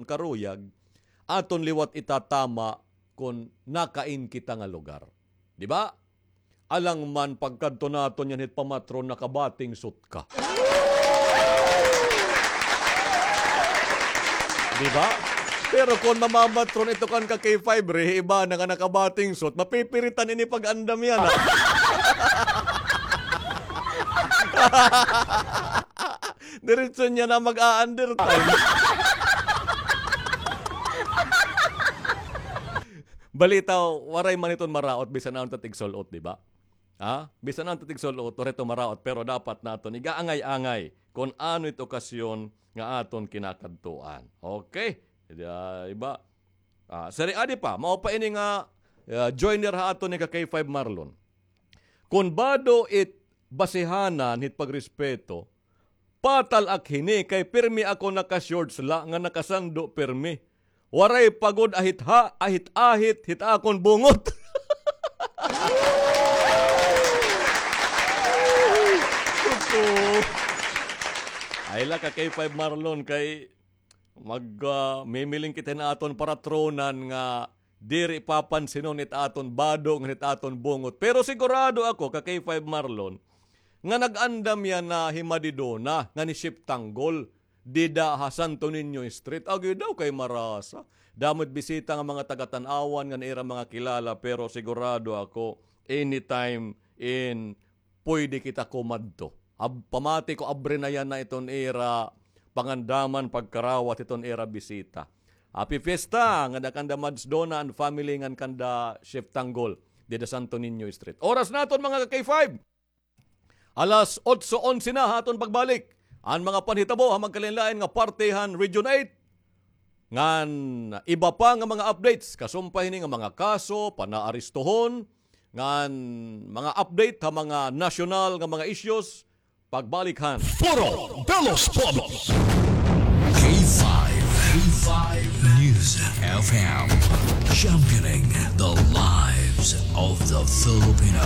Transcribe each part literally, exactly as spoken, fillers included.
karuyag, aton liwat itatama kon nakain kita nga lugar. Di ba? Alang man pagkadto naton yana hit pamatron, naka-bathing suit ka. Di ba? Pero kon mamamatron ito kan ka K five, re, iba na nga naka-bathing suit, mapipiritan ini pag-andam yana. Diretso niya na mag-a-undertime. Balita, waray man iton maraot, bisan ano ta tigsul-ot, di ba? Ha? Bisan ano ta tigsul-ot, waray ito maraot, pero dapat naton iga-angay-angay kon ano it okasyon nga aton kinakadtuan. Okay? Di, ah, iba. Ah, sari, adi pa, mao pa ini nga, ah, joiner ha aton ni ka K five Marlon. Kon bado it basihanan hit pagrespeto, patal ak hini kay pirmi ako naka-shorts la nga nakasando pirmi. Waray pa gud ahit ha, ahit-ahit hit akon bungot. Totoo. Ay la ka K five Marlon kay Mag, ah, mimiling kita hin aton paratronan nga diri papansinon it aton bado ngan it aton bungot. Pero sigurado ako, ka K five Marlon, nga nag-andam yana hi Madidona ngan hi Chef Tanggol dida ha Santo Niño Street. Agi daw kay marasa. Damo it bisita nga mga taga-Tanauan ngan ira mga kilala, pero sigurado ako, anytime in puyde kita kumadto. Ab-, pamati ko, abre na yana iton ira pangandaman, pagkarawat hiton ira bisita. Happy fiesta ngada kanda Mads Dona and family ngan kanda Chef Tanggol dida Santo Niño Street. Oras naton, mga ka K five. Alas otso onse na ha aton pagbalik. An mga panhitabo ha magkalain-lain nga parte han Region eight. Ngan iba pa nga mga updates, kasumpay hini nga mga kaso, panaarestohon, ngan mga update ha mga nasyonal nga mga issues, pagbalik han Foro de los Pueblos. K five, K five News F M, championing the lives of the Filipino.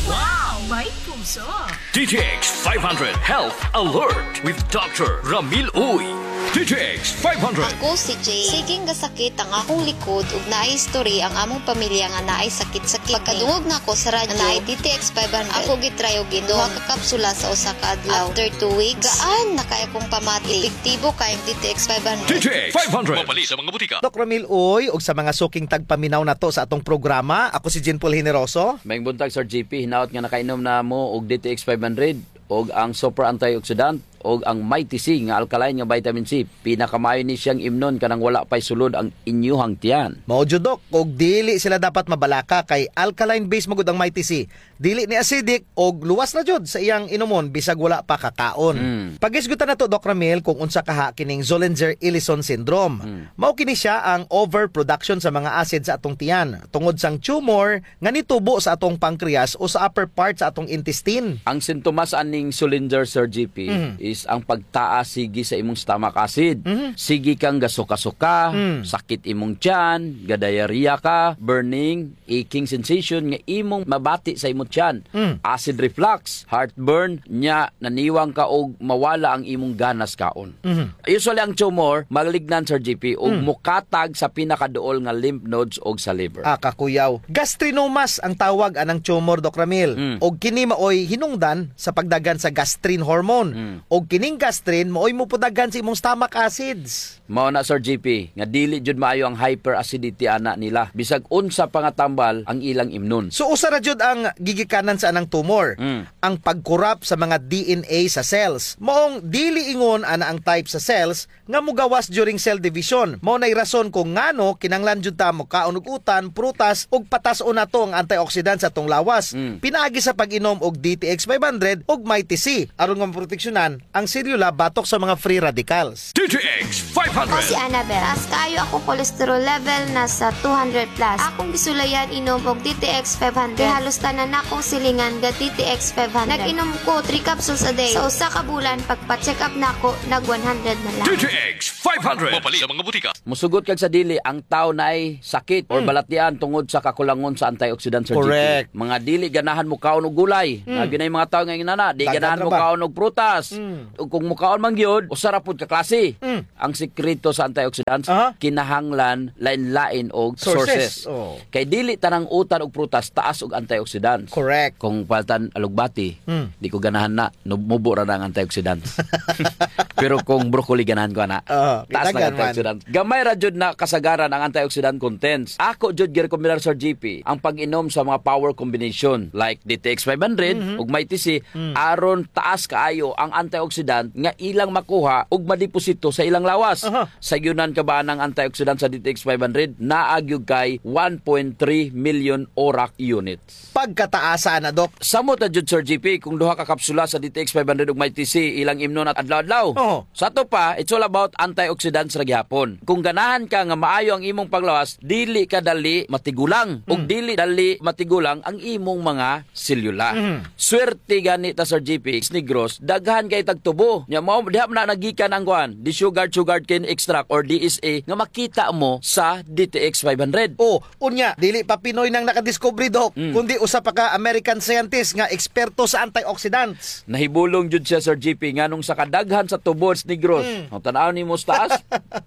Wow! May puso! D T X five hundred Health Alert with Doctor Ramil Uy. D T X five hundred. Ako si Jay. Sige nga sakit ang akong likod ug naay history ang among pamilya nga naay sakit sa kidney. Pagkadungog nako sa radyo nga naay D T X five hundred, ako gitry og inom duha ka kapsula sa usa ka adlaw. After two weeks, gaan na kaayo akong pamati. Epektibo kaayo ang D T X five hundred. D T X five hundred. Mapalit sa mga butika. Doc Ramil Uy, ug sa mga suking tagpaminaw nato sa atong programa, ako si Jean Paul Generoso. Maayong buntag, Sir J P. Hinaot nga nakainom na mo og D T X five hundred, og ang super antioxidant, og ang Mighty C nga alkaline nga vitamin C. Pinakamaayo ni siyang imnon kanang wala pa'y sulod ang inyuhang tiyan. Mao jud, Doc, og dili sila dapat mabalaka kay alkaline base man gud ang Mighty C. Dili ni acidic og luwas na jud sa iyang inumon bisag wala pa kakaon. Mm. Paghisgutan nato, Doc Ramil, kung unsa kaha kining Zollinger-Ellison syndrome. Mm. Mao kini siya ang overproduction sa mga acid sa atong tiyan tungod sang tumor nga nitubo sa atong pancreas o sa upper part sa atong intestine. Ang sintomas aning Zollinger, Sir J P, mhm, is ang pagtaas sige sa imong stomach acid. Mhm. Sige kang gasuka-suka, mm, sakit imong tiyan, ga-diarrhea ka, burning, aching sensation nga imong mabati sa imong tiyan. Mm. Acid reflux, heartburn, nya naniwang ka og mawala ang imong ganas kaon. Mhm. Usually, ang tumor, malignant, Sir J P, ug, mm, mokatag sa pinakaduol nga lymph nodes ug sa liver. Ah, kakuyaw. Gastrinomas ang tawag anang tumor, Doc Ramil. Mm. Ug kini maoy hinungdan sa pagdaghan sa gastrin hormone. Mm. Ug kining gastrin maoy mopudaghan sa imong stomach acids. Mao na, Sir J P, nga dili jud maayo ang hyperacidity ana nila. Bisag unsa pa nga tambal ang ilang imnon. So, usa ra jud ang gigikanan sa anang tumor. Mm. Ang pag-corrupt sa mga D N A sa cells. Maong dili ingon ana ang type sa cells nga mogawas during cell division. Mao nay rason kung ngano kinahanglan jud ta mokaon og utan, prutas, ug patas-on nato ang antioxidant sa atong lawas. Mm. Pinaagi sa pag-inom og D T X five hundred ug Mighty C, aron nga maproteksyonan ang selula batok sa mga free radicals. D T X five hundred. Ako si Annabel. Taas kaayo akong cholesterol level, nasa two hundred plus. Akong gisulayan inom og D T X five hundred. Kay halos tanan nakong silingan ga D T X five hundred. Nag-inom ko three capsules a day. Sa usa ka bulan, pagpa-check up nako, nag one hundred na lang. D T X five hundred. Mapalit sa mga butika. Mosugot kag sa dili, ang tawo naay sakit or, mm, balatian tungod sa kakulangon sa antioxidant, Sir J P. Correct. Mga dili ganahan mokaon og gulay. Mm. Labi na yung mga tawo nga ingon ana, di ganahan mokaon og prutas. Mm. Ug kung mukaon man gyud, usa ra pud ka klase. Mm. Ang sikreto sa antioxidants, Aha. kinahanglan lain-lain og Sources. sources. Oh. Kay dili tanang utan ug prutas taas og antioxidants. Correct. Kung paltan alugbati, Hmm. di ko ganahan na, nub-, mubo ra na ang antioxidants. Pero kung broccoli, ganahan ko ana. Oh, Taas na ang kinahanglan man. antioxidants. Gamay ra jud na kasagaran ang antioxidant contents. Ako jud girekomendar, Sir G P, ang pag-inom sa mga power combination like D T X five hundred Mhm. ug Mighty C, Mm. aron taas kaayo ang antioxidant nga ilang makuha ug madeposito sa ilang lawas. Aha. Sayonan ka ba anang antioxidant sa D T X five hundred? Naa gyud kay one point three million ORAC units. Pagkataasa na, Doc. Samot na jud, Sir G P, kung duha ka kapsula sa D T X five hundred ug Mighty C ilang imnon at adlaw-adlaw. Oo. Sa ato pa, it's all about antioxidants ra gihapon. Kung ganahan ka nga maayo ang imong panglawas, dili ka dali matigulang. Ug Mm. dili dali matigulang ang imong mga selula. Mhm. Swerte gani ta, Sir G P, sa Negros, daghan kay tagtubo. Nya, mao, diha man na nagikan ang kuan, the sugar, sugarcane extract or D S E nga makita mo sa D T X five hundred. Oh, unya, dili pa Pinoy nang nakadiskubre, Doc, Mm. kundi usa pa ka American scientist nga eksperto sa antioxidants. Nahibulong jud siya, Sir G P, nganong sa kadaghan sa tubo sa Negros. Mm. O, tan-aw nimo sa taas,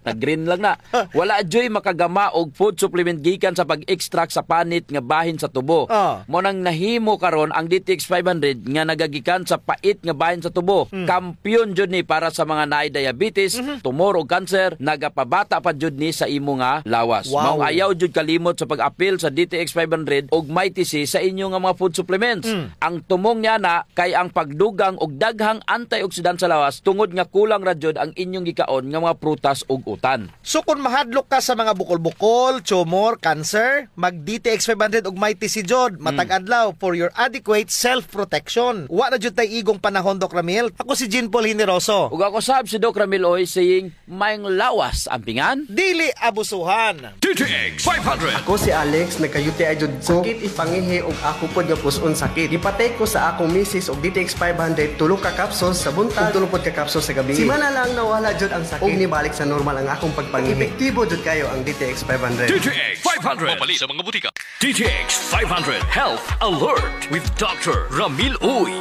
nag-green lang na. Wala juy makagama og food supplement gikan sa pag-extract sa panit nga bahin sa tubo. Ah. Mao nang nahimo karon ang D T X five hundred nga nagagikan sa pait nga bahin sa tubo. Mm. Kampiyon jud ni para sa mga naay diabetes, Mhm. tumor ug cancer, nagapabata pa jud ni sa imo nga lawas. Wow. Maong ayaw jud kalimot sa pag-apil sa D T X five hundred ug Mighty C sa inyo nga mga food supplements. Mm. Ang tumong niana kay ang pagdugang og daghang antioxidant sa lawas tungod nga kulang ra jud ang inyong gikaon nga mga prutas ug utan. So, kon mahadlok ka sa mga bukol-bukol, tumor, cancer, mag D T X five hundred ug Mighty C jud, matag adlaw for your adequate self-protection. Wa na jud tay igong panahon, Doc Ramil. Ako si Jean Paul Generoso. Ug ako sab si Doc Ramil Uy, saying, maayong lawas ampingan. Dili abusuhan. D T X five hundred. Ako si Alex, nagka-U T I jud ko. Sakit it pangihi ug ako pod nga pus-on sakit. Gipa-take ko sa akong misis og D T X five hundred, tulo ka capsules sa buntag, ug tulo pod ka capsules sa gabii. Simana lang nawala jud ang sakit. Ug nibalik sa normal ang akong pagpangihi. Epektibo jud kayo ang D T X five hundred. D T X five hundred. Mapalit sa mga butika. D T X five hundred Health Alert with Doctor Ramil Uy.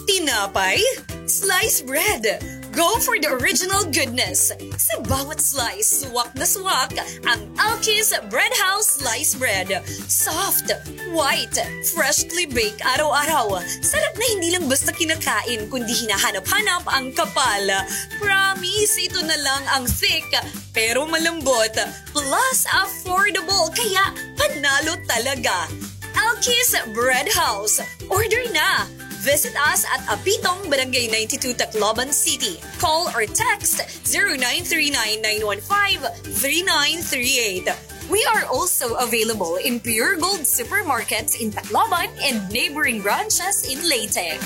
Tinapay? Slice bread. Go for the original goodness. Sa bawat slice, suwak na suwak ang Alkis Bread House Slice Bread. Soft, white, freshly baked araw-araw. Sarap na hindi lang basta kinakain, kundi hinahanap-hanap ang kapal. Promise, ito na lang ang thick, pero malambot. Plus, affordable, kaya panalo talaga. Alkis Bread House. Order na! Visit us at Apitong, Barangay ninety-two, Tacloban City. Call or text zero nine three nine nine one five three nine three eight. We are also available in Pure Gold supermarkets in Tacloban and neighboring branches in Leyte.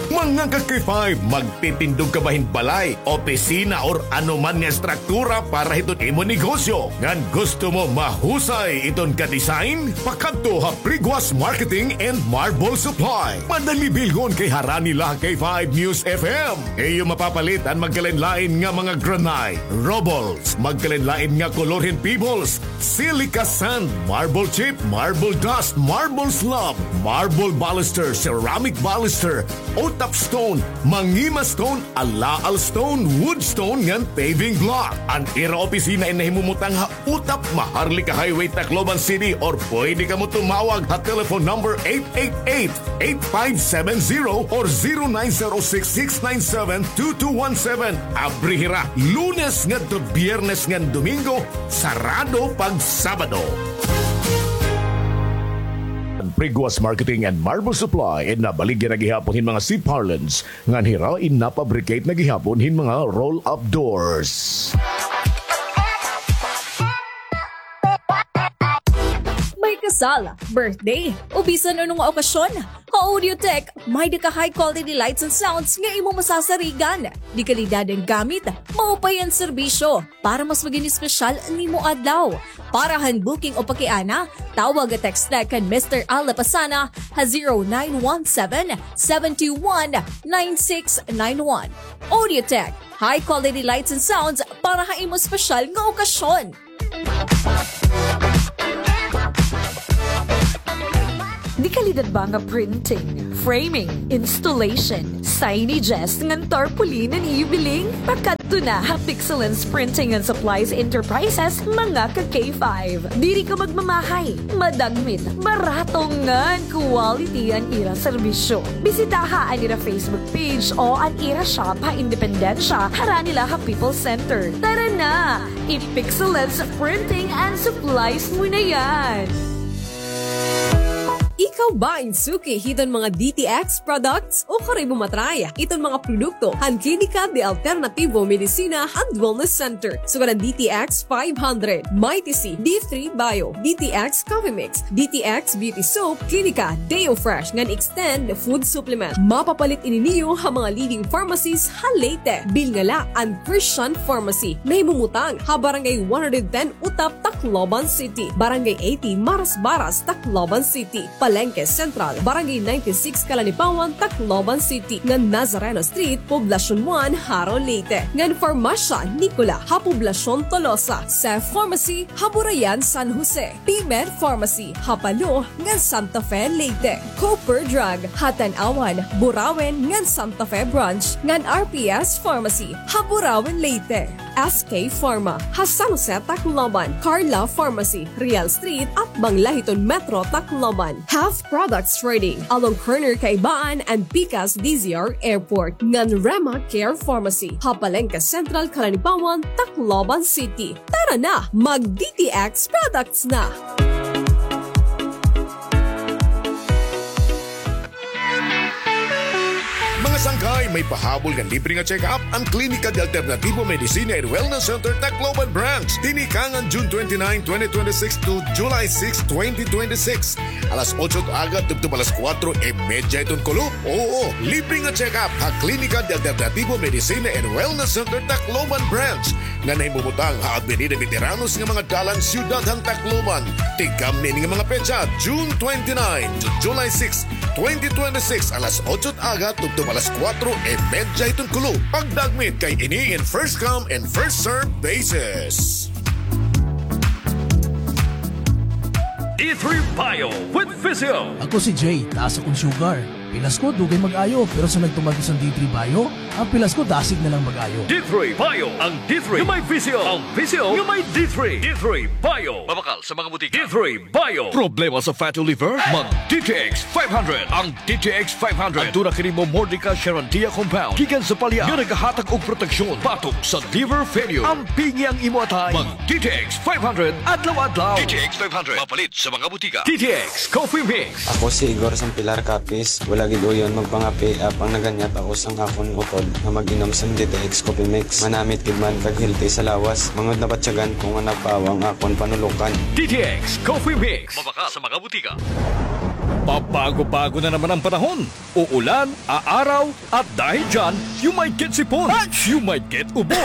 Mga ka-K five, magtitindog ka ba hin balay, opisina, or ano man nga estruktura para hiton imo negosyo? Ngan gusto mo mahusay iton ka-design? Pakadto ha Priguas Marketing and Marble Supply. Madali bilhon kay harani la ha K five News F M. Iyo mapapalit an magkalain-lain nga mga granite, rubbles, magkalain-lain nga kolor hin pebbles, silica sand, marble chip, marble dust, marble slab, marble baluster, ceramic baluster, utap stone, mangima stone, alaal stone, wood stone, ngan paving block. An ira opisina in nahimumutang ha Utap, Maharlika Highway, Tacloban City, or pwede kamo tumawag ha telephone number eight eight eight, eight five seven zero or zero nine zero six, six nine seven, two two one seven. Abri hira Lunes ngadto Biyernes ngan Domingo, sarado pag Sabado. Priguas Marketing and Marble Supply, in nabaligya na gihapon hin mga C-parlance, ngan hira in napabricate na gihapon hin mga roll-up doors. May kasal, birthday, o bisan ano nga okasyon, ha Audiotech, may-ada ka high quality lights and sounds nga imo masasarigan. De-kalidad an gamit, maupay an serbisyo, para mas magin espesyal an imo adlaw. Para han booking o pakiana, tawag o text na kan Mister Al Lapasana ha zero nine one seven, seven two one, nine six nine one. Audiotech, high quality lights and sounds para ha imo espesyal nga okasyon. De-kalidad ba nga printing, framing, installation, signages, ngan tarpaulin an ibiling? Pakadto na ha Pixelens Printing and Supplies Enterprises, mga ka-K five. Diri ka magmamahay, madagmit, barato ngan quality an ira serbisyo. Bisitaha an ira Facebook page o an ira shop ha Independencia, harani la ha People's Center. Tara na! I-Pixelens Printing and Supplies mo na yan! Ikaw ba in suki hiton mga D T X products? Ukon imo matry iton mga produkto han Klinika de Alternativo Medicina and Wellness Center. Sugad an D T X five hundred, Mighty C, D three Bio, D T X Coffee Mix, D T X Beauty Soap, Klinika Deo Fresh, ngan Extend Food Supplement. Mapapalit ini niyo ha mga leading pharmacies ha Leyte. Bilnga la an Christian Pharmacy. Nahimumutang ha Barangay one hundred ten Utap, Tacloban City, Barangay eighty Marasbaras, Tacloban City, Palenque Central, Barangay ninety-six Calanipawan, Tacloban City, ngan Nazareno Street, Poblacion one, Jaro, Leyte, ngan Farmasya Nicola ha Poblacion Tolosa, Cef Pharmacy ha Burayan, San Jose, P-Med Pharmacy ha Palo ngan Santa Fe, Leyte, Cooper Drug ha Tanauan, Burauen ngan Santa Fe Branch, ngan R P S Pharmacy ha Burauen, Leyte. S K Pharma ha San Jose, Tacloban, Carla Pharmacy, Real Street, atbang la hiton Metro Tacloban, Health Products Trading, along corner Kaibaan and Pikas D Z R Airport, ngan Rema Care Pharmacy ha Palenque Central, Calanipawan, Tacloban City. Tara na, mag-D T X products na! Mga sangkay, may pahabol nga libre nga check-up an Klinika de Alternativo Medicina and Wellness Center, Tacloban Branch. Tinikangan June twenty-nine, twenty twenty-six to July six, twenty twenty-six. Alas otso hit aga tubtob alas kuwatro y medya hiton kulop. Oo, libre nga check-up ha Klinika de Alternativo Medicina and Wellness Center, Tacloban Branch, nga nahimumutang ha Avenida Veteranos nga mga dalan, Siyudad han Tacloban. Tigamni ini nga mga petsa, June twenty-nine to July six, twenty twenty-six, alas otso hit aga tubtob alas kuwatro y medya hiton kulop. Pagdagmit kay ini in first come and first serve basis. D three Bio with Physio. Ako si Jay, taas akon sugar. Pilas ko, dugay mag-ayo, pero sa nagtumagos an D three Bio, an pilas ko dasig na lang mag-ayo. D three Bio, ang D three nga may Physio, ang Physio nga may D three. D three Bio. Mabakal sa mga butika. D three Bio. Problema sa fatty liver? Mag D T X five hundred. Ang D T X five hundred. Aduna kini Momordica Charantia compound gikan sa palya nga nagahatag og proteksyon batok sa liver failure. Ampingi ang imo atay. Mag D T X five hundred adlaw-adlaw. D T X five hundred. Mapalit sa mga butika. D T X Coffee Mix. Ako si Igor Sampilar Capiz. Wala gid uyon magpangapi, apang naganyat ako sang akon utod nga mag-inom sang D T X Coffee Mix. Manamit gid man kag healthy sa lawas. Mangud nabatyagan ko nga napawa ang akon panulokan. D T X Coffee Mix. Mabakal sa mga butika. Pabago-bago na naman ang panahon. Uulan, aaraw, at dahil dyan, you might get sipon, you might get ubo,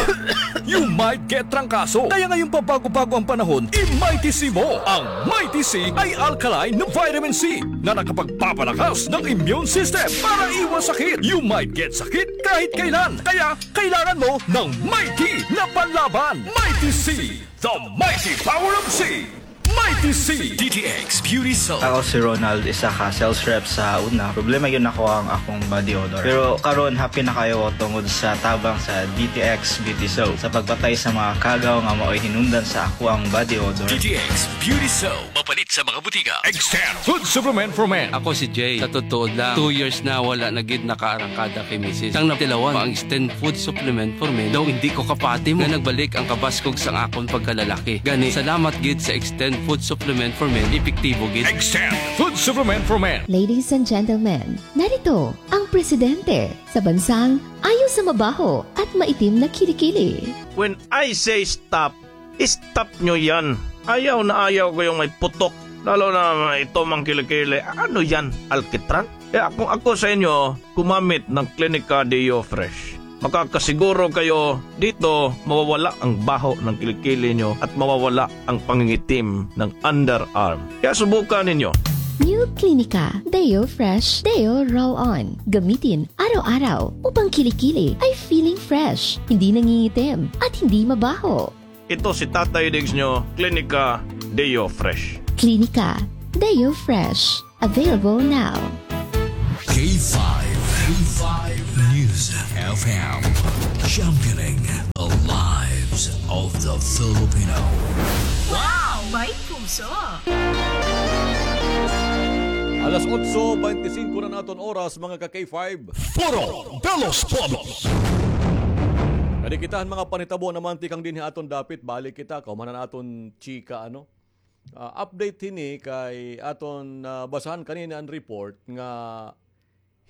you might get trangkaso. Kaya ngayong pabago-bago ang panahon, i-Mighty C mo. Ang Mighty C ay alkaline na vitamin C na nakapagpapalakas ng immune system para iwas sakit. You might get sakit kahit kailan. Kaya kailangan mo ng Mighty na panlaban. Mighty C, the mighty power of C. Mighty C. D T X Beauty Soap. Ako si Ronald, isa ka sales rep sa una. Problema gyud nako ang akong body odor. Pero karon, happy na kaayo ko tungod sa tabang sa D T X Beauty Soap sa pagpatay sa mga kagaw nga maoy hinungdan sa akoang body odor. D T X Beauty Soap. Mapalit sa mga butika. Extend Food Supplement for Men. Ako si Jay. Sa totoo lang, two years na wala na gid nakaarangkada kay misis. Sang natilawan pa ang Extend Food Supplement for Men, daw hindi ko kapati mo nga nagbalik ang kabaskog sang akon pagkalalaki. Gani, salamat gid sa Extend Food Supplement for Men, epektibo gid. Extend Food Supplement for Men. Ladies and gentlemen, narito ang presidente sa bansang ayaw sa mabaho at maitim na kilikili. When I say stop, stop nyo yan. Ayaw na ayaw ko yung may putok. Lalo na ito, mga kilikili. Ano yan? Alkitran? Kaya kung ako sa inyo, gumamit ng Klinika Deo Fresh. Makakasiguro kayo dito, mawawala ang baho ng kilikili nyo at mawawala ang pangingitim ng underarm. Kaya subukan ninyo. New Klinika Deo Fresh Deo Roll-On. Gamitin araw-araw upang kilikili ay feeling fresh, hindi nangingitim, at hindi mabaho. Ito si Tatay Diggs nyo, Klinika Deo Fresh. Klinika Deo Fresh. Available now. K Five, five News F M, championing the lives of the Filipino. Wow! May puso! Alas otso bente singko na an aton oras, mga ka-K five. Foro de los Pueblos. Kadi kita han mga panhitabo naman tikang dinhi ha aton dapit, balik kita, kahuman han aton chika, ano? Ah, update hini kay aton, ah, basahan kanina an report nga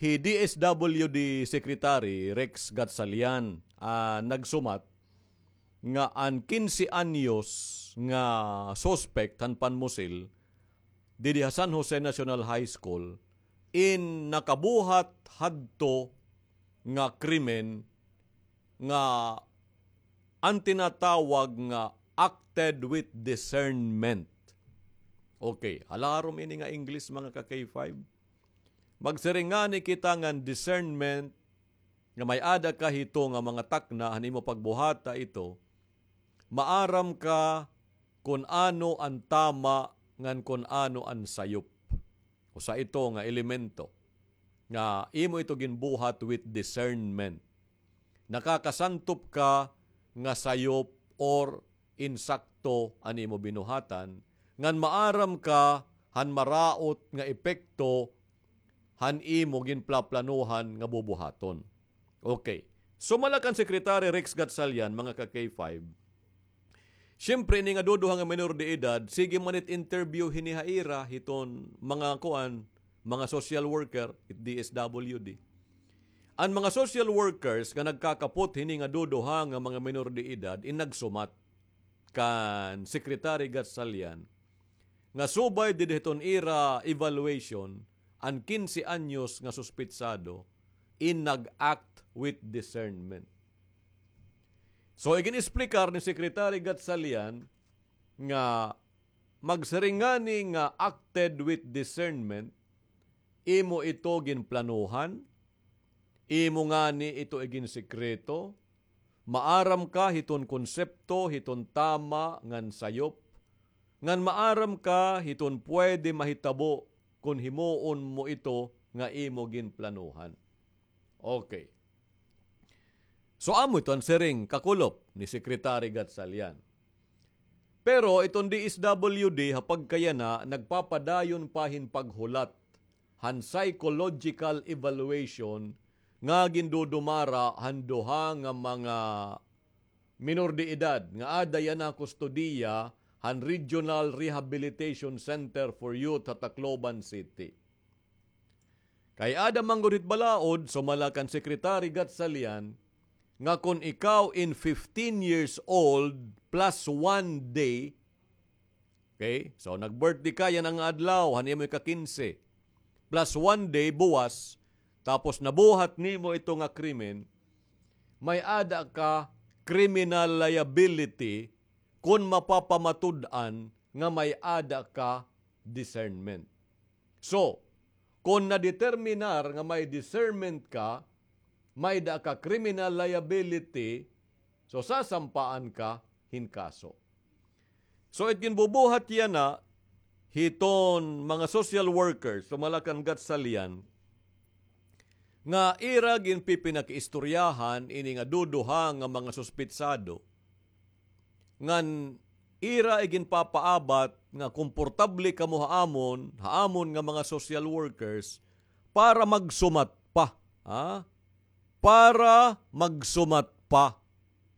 hi D S W D Secretary Rex Gatchalian, ah, nagsumat nga an kinse anyos nga suspect han panmusil didi ha San Jose National High School in nakabuhat hadto nga krimen nga an tinatawag nga acted with discernment. Okay, halarom ini nga English, mga ka-K five. Magsiring ngani kita ngan discernment nga may-ada ka hito nga mga takna han imo pagbuhata ito, maaram ka kon ano an tama ngan kon ano an sayop. Usa ito nga elemento nga imo ito ginbuhat with discernment. Nakakasantop ka nga sayop or insakto an imo binuhatan, ngan maaram ka han maraot nga epekto han imo ginplaplanuhan nga bubuhaton. Okay. Sumala kan Secretary Rex Gatchalian, mga ka-K five, siyempre, ini nga duduha nga minor de edad, sige man it interview hini ha ira hiton mga kuan, mga social worker, it D S W D. An mga social workers nga nagkakapot hini nga duduha nga mga minor de edad, in nagsumat kan Secretary Gatchalian nga subay didi hiton ira evaluation, an kinse anyos nga suspitsado in nag-act with discernment. So, igin-explicar ni Secretary Gatchalian nga magsiring ngani nga acted with discernment, imo ito ginplanuhan, imo ngani ito iginsekreto, maaram ka hiton konsepto, hiton tama ngan sayop, ngan maaram ka hiton pwede mahitabo kon himuon mo ito nga imo ginplanuhan. Okay. So, amo ito an siring, kakulop, ni Secretary Gatchalian. Pero iton D S W D ha pagkayana nagpapadayon pa hin paghulat han psychological evaluation nga gindudumara han duha nga mga minor de edad nga aada yana kustodiya han Regional Rehabilitation Center for Youth ha Tacloban City. Kay aada man gud hit balaod, sumala kan Secretary Gatchalian, nga kon ikaw in fifteen years old plus one day, okay, so nag-birthday ka yana nga adlaw, han imo ika-kinse, plus one day buwas, tapos nabuhat nimo ito nga krimen, may-ada ka criminal liability kon mapapamatud-an nga may-ada ka discernment. So, kon nadeterminar nga may discernment ka, may-ada ka criminal liability, so sasampaan ka hin kaso. So, it ginbubuhat yana hiton mga social workers, sumala kan Gatchalian, nga ira ginpipinakiistoryahan ini nga duduha nga mga suspitsado, ngan ira iginpapaabat nga komportable kamo ha amon, ha amon nga mga social workers, para magsumat pa, ha? Para magsumat pa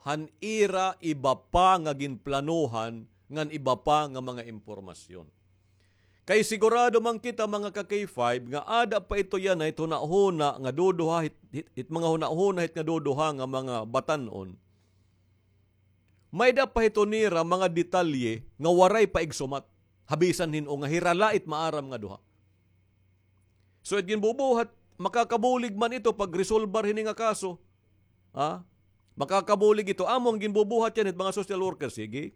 han ira iba pa nga ginplanuhan ngan iba pa nga mga impormasyon. Kay sigurado man kita, mga ka-K five, nga aada pa ito yana hit hunahuna nga duduha, hit, hit, hit mga hunahuna hit nga duduha nga mga batan-on. May-ada pa hito nira mga detalye nga waray pa igsumat. Ha bisan hin-o nga hira la it maaram nga duha. So, it ginbubuhat, makakabulig man ito pagresolbar hini nga kaso. Ha? Makakabulig ito. Amo an ginbubuhat yana hit mga social worker. Sige,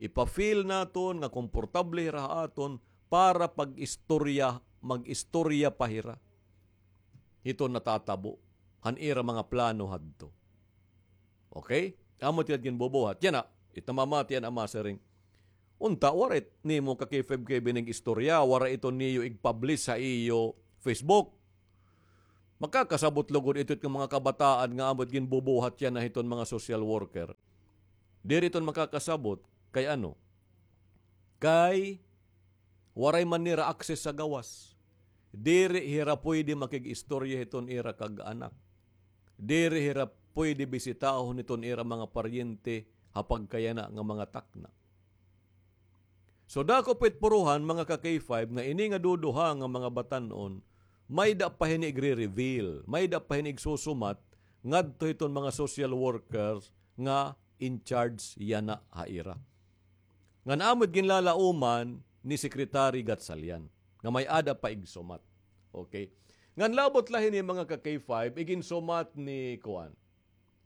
ipa-feel naton nga komportable hira ha aton para pag-istorya, mag-istorya pa hira hiton natatabo han ira mga plano hadto. Okay? Amo it ginbubuhat. Yana, it namamati yana, masiring. Unta, waray nimo ka-K five K B inig-istorya, waray ito niyo ig-publish ha iyo Facebook. Makakasabot lugod ito it mga kabataan nga amo it ginbubuhat yana hiton mga social worker. Diri iton makakasabot kay ano? Kay waray man nira access sa gawas. Diri hira pwede makig-istorya hiton ira kag-anak. Diri hira pwede bisitahon hiton ira mga paryente ha pagkayana nga mga takna. So, dako pa it puruhan, mga ka-K five, nga ini nga duduha nga mga batan-on, may-ada pa hini igre-reveal, may-ada pa hini igsusumat ngadto hiton mga social workers nga in charge yana ha ira. Ngan amo it ginlalauman ni Secretary Gatchalian nga may-ada pa igsumat. Okay. Ngan labot la hini, mga ka-K five, iginsumat ni kuan,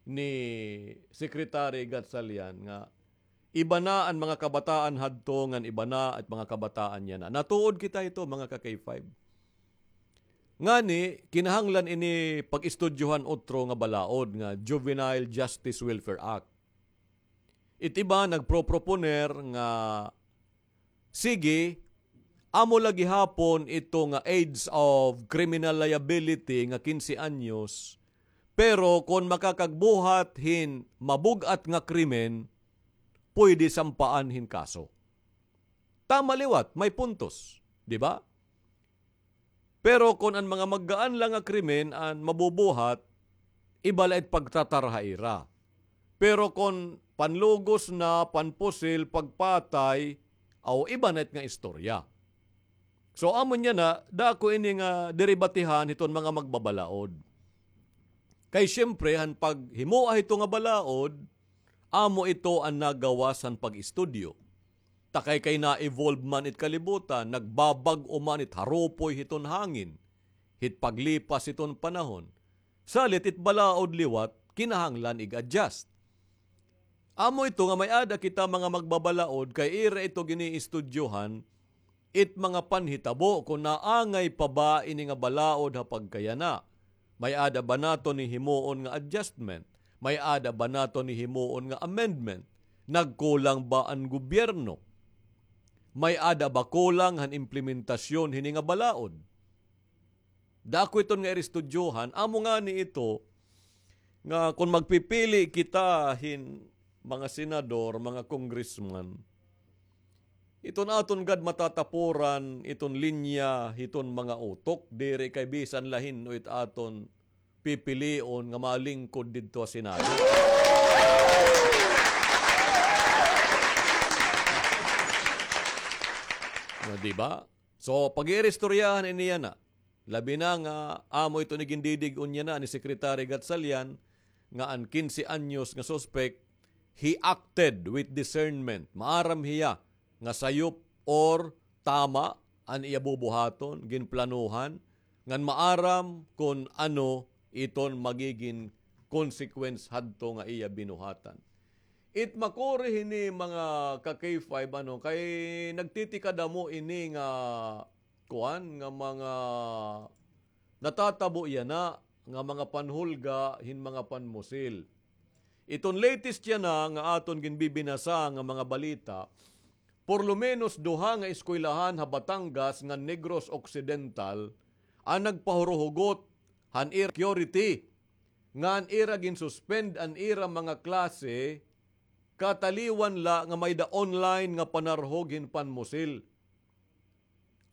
ni Secretary Gatchalian nga iba na an mga kabataan hadto ngan iba na it mga kabataan yana. Natuod kita hito, mga ka-K five. Ngani, kinahanglan ini pag-istudyohan otro nga balaod nga Juvenile Justice Welfare Act. It iba nagproproponer nga, sige, amo la gihapon ito nga age of criminal liability nga kinse anyos, pero kon makakagbuhat hin mabug-at nga krimen, pwede sampaan hin kaso. Tama liwat, may puntos, di ba? Pero kon an mga maggaan la nga krimen an mabubuhat, iba la it pagtratar ha ira. Pero kon panlugos na, panpusil, pagpatay, aw, iba na it nga istorya. So, amo niyan na, dako ini nga derebatihan hiton mga magbabalaod. Kay siyempre, han paghimoa hito nga balaod, amo ito an nagawas han pag-istudyo. Ta kay, kay na-evolve man it kalibutan, nagbabag-o man it harupoy hiton hangin, hit paglipas hiton panahon. Salit it balaod liwat, kinahanglan ig-adjust. Amo ito nga may-ada kita mga magbabalaod kay ira ito giniistudyohan, it mga panhitabo kon naangay pa ba ini nga balaod ha pagkayana. May-ada ba naton hihimuon nga adjustment? May-ada ba naton hihimuon nga amendment? Nagkulang ba an gobyerno? May-ada ba kulang han implementasyon hini nga balaod? Dako iton nga iristudyohan, amo ngani ito nga kon magpipili kita hin mga senador, mga congressman, iton aton gad matatapuran iton linya hiton mga utok, diri kay bisan la hin-o it aton pipilion nga malingkod didto ha Senado. Na, di ba? So, pag-iiristoryahan ini yana, labi na nga amo ito ni gindidig-on yana ni Secretary Gatchalian nga an kinse anyos nga suspek, he acted with discernment. Maaram hiya nga sayop or tama an iya bubuhaton, ginplanuhan, ngan maaram kon ano iton magigin consequence hadto nga iya binuhatan. It makuri hini mga ka-K five, ano, kay nagtitikadamo ini nga kuan nga mga natatabo yana nga mga panhulga hin mga panmusil. Iton latest yana nga aton ginbibinasa nga mga balita, por lo menos duha nga eskwelahan ha Batangas ngan Negros Occidental an nagpahuruhugot han ira security ngan ira ginsuspend an ira mga klase kataliwan la nga may-ada online nga panarhog hin panmusil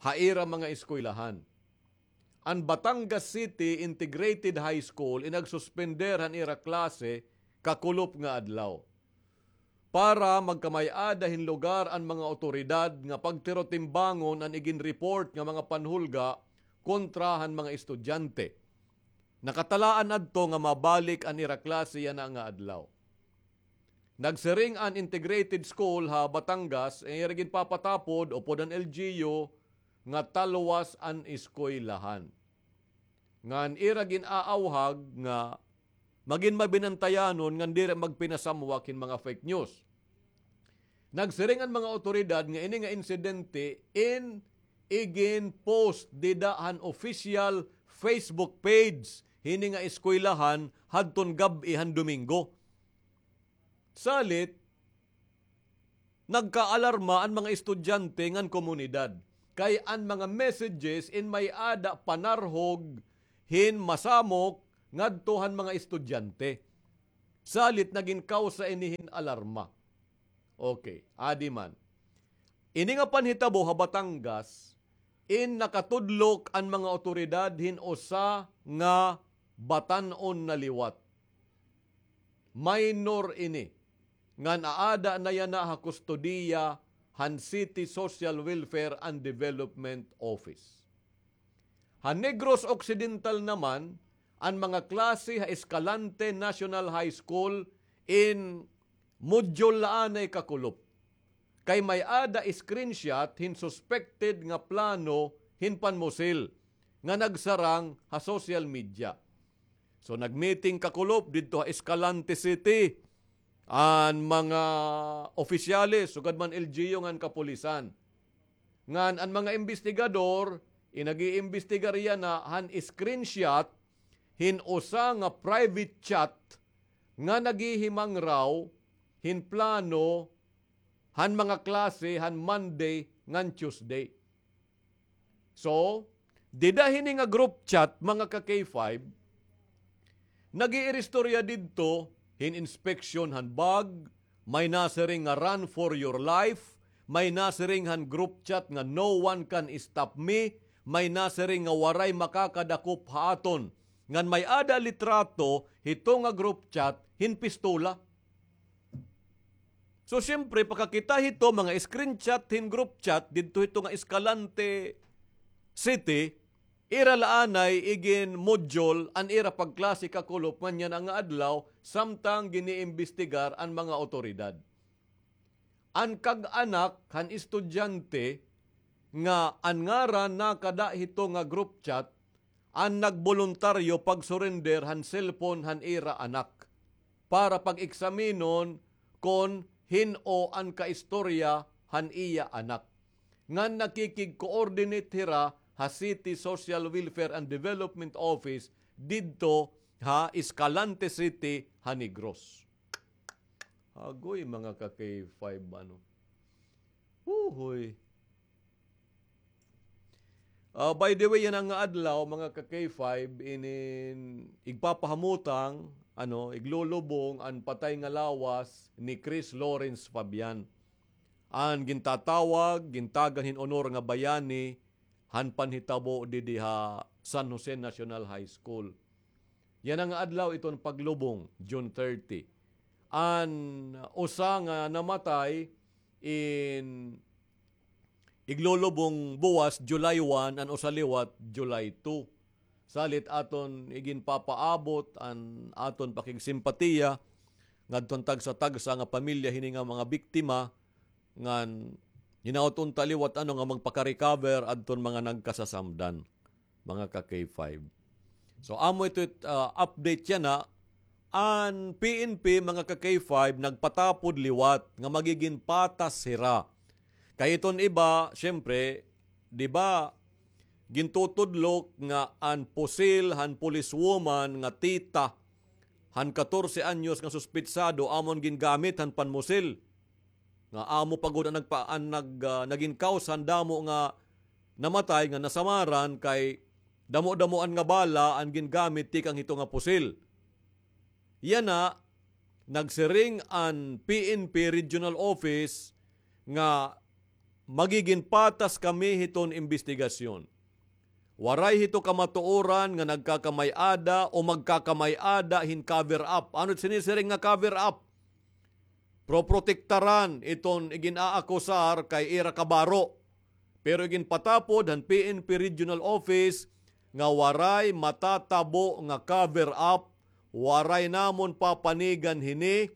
ha ira mga eskwelahan. An Batangas City Integrated High School in nagsuspender han ira klase kakulop nga adlaw. Para magkamay-ada hin lugar an mga awtoridad nga pagtirotimbangon an iginreport nga mga panhulga kontra han mga estudyante. Nakatalaan adto nga mabalik an ira klase yana nga adlaw. Nagsiring an Integrated School ha Batangas, ira ginpapatapod upod an L G U nga talwas an eskwelahan. Ngan ira gin-aawhag nga magin mabinantayanon ngan diri magpinasamwak hin mga fake news. Nagsiring an mga awtoridad nga ini nga insidente in igin-post dida han official Facebook page hini nga eskwelahan hadton gab-i han Domingo. Salit, nagkaalarma an mga estudyante ngan komunidad. Kay an mga messages in may-ada panarhog hin masamok ngadto han mga estudyante. Salit nagin kawsa ini hin alarma. Okay, adi man. Ini nga panhitabo ha Batangas, in nakatudlok an mga awtoridad hin usa nga batan-on na liwat. Minor ini, ngan aada na yana ha kustodiya han City Social Welfare and Development Office. Ha Negros Occidental naman, an mga klase ha Escalante National High School in module la anay kakulop. Kay may-ada screenshot hin suspected nga plano hin panmusil nga nagsarang ha social media. So, nag-meeting kakulop didto ha Escalante City an mga opisyales, sugad man L G U ngan kapulisan. Ngan an mga imbestigador, in nag-iimbestigar yana han screenshot hin usa nga private chat nga naghihimangraw hin plano han mga klase han Monday ngan Tuesday. So, dida hini nga group chat, mga ka-K five, nag-iiristorya didto hin inspection han bag, may nasiring nga run for your life, may nasiring han group chat nga no one can stop me, may nasiring nga waray makakadakop ha aton. Ngan may-ada litrato hito nga group chat hin pistola. So, siyempre, pakakita hito, mga screenshot hin group chat didto hito nga Escalante City, ira la anay igin module an ira pagklase kakulop ngan yana nga adlaw, samtang giniimbestigar an mga awtoridad. An kag-anak han estudyante nga an ngaran nakada hito nga group chat, an nagboluntaryo pag-surrender han cellphone han ira anak para pag-eksaminon kon hin-o an kaistorya han iya anak. Ngan nakikig-coordinate hira ha City Social Welfare and Development Office didto ha Escalante City ha Negros. Agoy, mga ka-K five, ano. Huhoy. Ah, by the way, yana nga adlaw, mga ka-K five, inin igpapahamutang, ano, iglulubong an patay nga lawas ni Chris Lawrence Fabian. An gintatawag, gintagan hin honor nga bayani, han panhitabo didi ha San Jose National High School. Yana nga adlaw iton paglubong, June thirty. An usa nga namatay in iglulubong buwas, July one, an usa liwat, July two. Salit aton iginpapaabot an aton pakigsimpatiya ngadton tagsa-tagsa nga pamilya hini nga mga biktima, ngan hinaot unta liwat ano nga magpaka-recover adton mga nagkasasamdan, mga ka-K five. So, amo ito it, ah, update yana, an P N P, mga ka-K five, nagpatapod liwat nga magigin patas hira. Kay iton iba, siyempre, di ba, gintutudlok nga an pusil han policewoman nga tita han katorse anyos nga suspetsado amon gingamit han panmusil. Nga amo pa gud an nagpa-, an nag-, ah, nagin cause han damo nga namatay nga nasamaran kay damo-damoan nga bala an gingamit tikang hito nga pusil. Yana, nagsiring an P N P Regional Office nga magigin patas kami hiton imbestigasyon. Waray hito kamatuoran nga nagkakamay-ada o magkakamay-ada hin cover up. Ano it sinisiring nga cover up? Proprotektaran iton igin-aakusar kay ira kabaro. Pero iginpatapod han P N P Regional Office nga waray matatabo nga cover up, waray namon papanigan hini,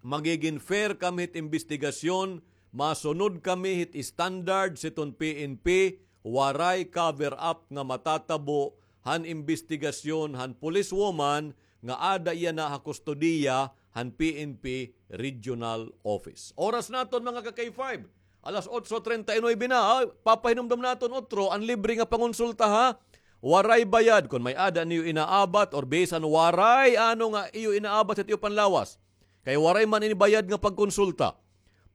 magigin fair kami hit imbestigasyon, masunod kami hit standards hiton P N P, waray cover up nga matatabo han imbestigasyon han policewoman nga ada yana ha kustodiya han P N P Regional Office. Oras naton, mga ka-K five, alas otso treinta y nueve na, ha? Papahinumdom naton otro, an libre nga pangonsulta, ha? Waray bayad kon may-ada niyo inaabat or bisan waray ano nga iyo inaabat hit iyo panlawas. Kay waray man ini bayad nga pagkonsulta.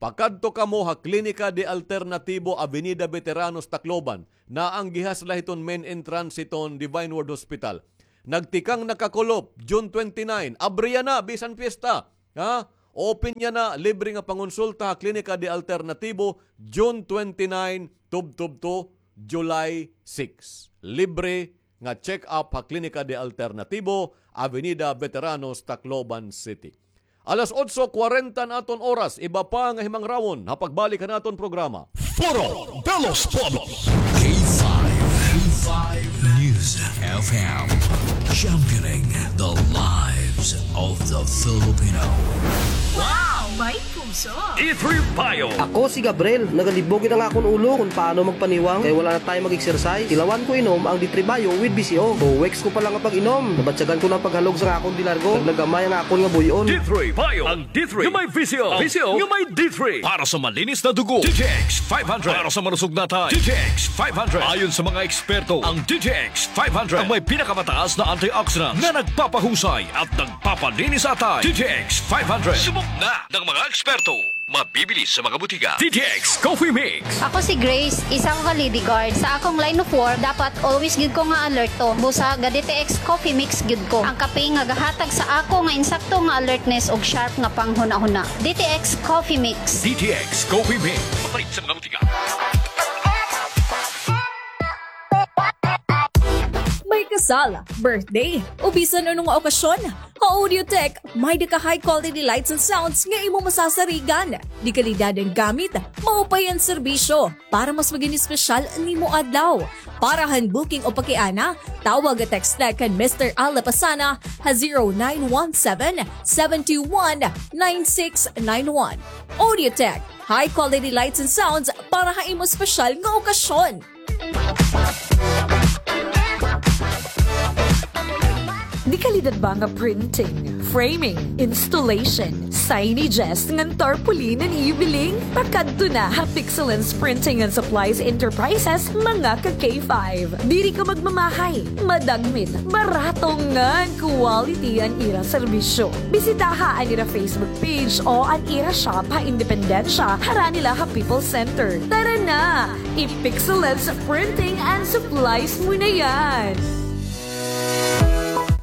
Pakadto kamo ha Klinika de Alternatibo, Avenida Veteranos, Tacloban. Naanggihas la hiton main entrance hiton Divine Word Hospital. Nagtikang na kakulop, June twenty-nine. Abri yana, bisan piyesta. Ha? Open yana, libre nga pangonsulta ha Klinika de Alternatibo, June twenty-nine, tubtob to July six. Libre nga check-up ha Klinika de Alternatibo, Avenida Veteranos, Tacloban City. Alas otso kwarenta na aton oras, iba pa nga himangrawon ha pagbalik han aton programa. Foro de los Pueblos. K five, K five News F M, championing the lives of the Filipino. Wow! May puso! D three Bio. Ako si Gabriel. Nagalibog gid an akon ulo kon paano magpaniwang kay wala na time mag-exercise. Tilawan ko inom ang D three Bio with V C O. Two weeks ko pa lang nga pag-inom, nabatyagan ko na an paghalog sa akon dilargo. Naglagamay ang akon nga buy-on. D three Bio. Ang D three nga may V C O. V C O nga may D three. Para sa malinis na dugo, D T X five hundred. Para sa malusog na atay, D T X five hundred. Ayon sa mga eksperto, ang D T X five hundred ang may pinakamataas na antioxidant na nagpapahusay at nagpapalinis sa atay. D T X five hundred. Subok na ng mga eksperto. Mabibili sa mga butika. D T X Coffee Mix. Ako si Grace, isa ko ka lady guard. Sa akong line of work, dapat always gyud ko nga alerto. Busa ga D T X Coffee Mix gyud ko. Ang kape nga gahatag sa ako nga insakto nga alertness ug sharp nga panghunahuna. D T X Coffee Mix. D T X Coffee Mix. Mapalit sa mga butika. May kasal, birthday, o bisan ano nga okasyon, ha Audiotech, may-ada ka high quality lights and sounds nga imo masasarigan. De-kalidad an gamit, maupay an serbisyo. Para mas magin espesyal an imo adlaw. Para han booking o pakiana, tawag o text la kan Mister Al Lapasana ha zero nine one seven, seven two one, nine six nine one. Audiotech, high quality lights and sounds para ha imo espesyal nga okasyon. De-kalidad ba nga printing, framing, installation, signages ngan tarpaulin an iyo biling? Pakadto na ha Pixelens Printing and Supplies Enterprises, mga ka K five. Diri ka magmamahay, madagmit, barato ngan quality an ira serbisyo. Bisitaha an ira Facebook page o an ira shop ha Independencia, harani la ha People's Center. Tara na! I-Pixelens Printing and Supplies mo na yan!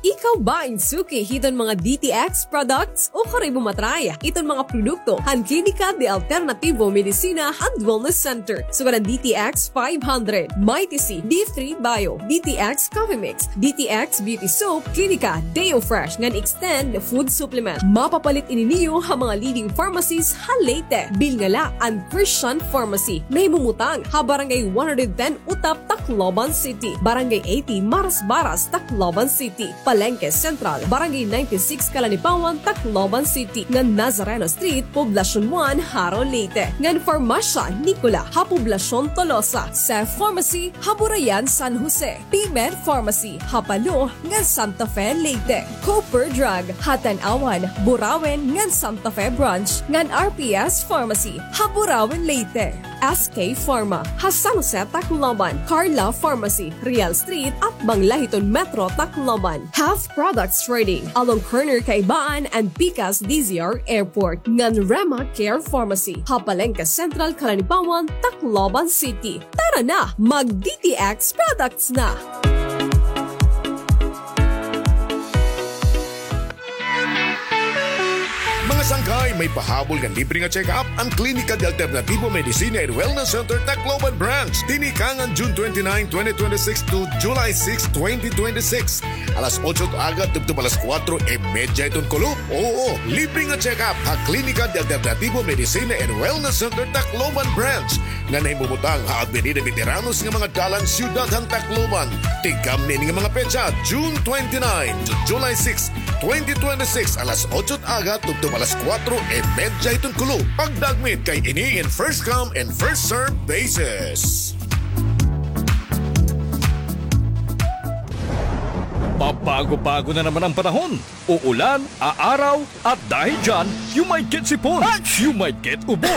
Ikaw ba in suki hiton mga D T X products o karuyag mo ma-try hiton mga produkto han Klinika de Alternativo Medicina and Wellness Center? Sugad an D T X five hundred, Mighty C, D three Bio, D T X Coffee Mix, D T X Beauty Soap, Klinika Deo Fresh ngan Extend Food Supplement. Mapapalit ini niyo ha mga leading pharmacies ha Leyte. Bilnga la an Christian Pharmacy. Nahimumutang ha Barangay one hundred ten Utap, Tacloban City, Barangay eighty Marasbaras, Tacloban City, Palengke Central, Barangay ninety-six Calanipawan, Tacloban City, ngan Nazareno Street, Poblacion one, Jaro, Leyte, ngan Farmasya Nicola ha Poblacion Tolosa, Safe Pharmacy ha Burayan, San Jose, P-Med Pharmacy ha Palo ngan Santa Fe, Leyte, Cooper Drug ha Tanauan, Burauen ngan Santa Fe Branch, ngan R P S Pharmacy ha Burauen, Leyte. S K Pharma ha San Jose, Tacloban, Carla Pharmacy, Real Street, atbang la hiton Metro Tacloban, Health Products Trading, along corner Kaibaan and Pikas D Z R Airport, ngan Rema Care Pharmacy ha Palengke Central, Calanipawan, Tacloban City. Tara na, mag-D T X products na! Mga sangkay, may pahabol ngan libre nga check-up an Klinika de Alternativo Medicina and Wellness Center Tacloban Branch. Tinikang han June twenty-nine, twenty twenty-six to July six, twenty twenty-six. Alas otso it aga tubtob alas kuwatro y medya hiton kulop. Oo, libre nga check-up ha Klinika de Alternativo Medicina and Wellness Center Tacloban Branch. nga nahimumutang ha Avenida Veteranos nga mga dalan, Syudad han Tacloban. Tigamni ini nga mga petsa, June twenty-nine to July six, twenty twenty-six, alas otso it aga tubtob alas kuwatro y medya hiton kulop. Pagdagmit kay ini in first come and first serve basis. Pabago-bago na naman ang panahon. Uulan, aaraw, at dahil dyan, you might get sipon, you might get ubo,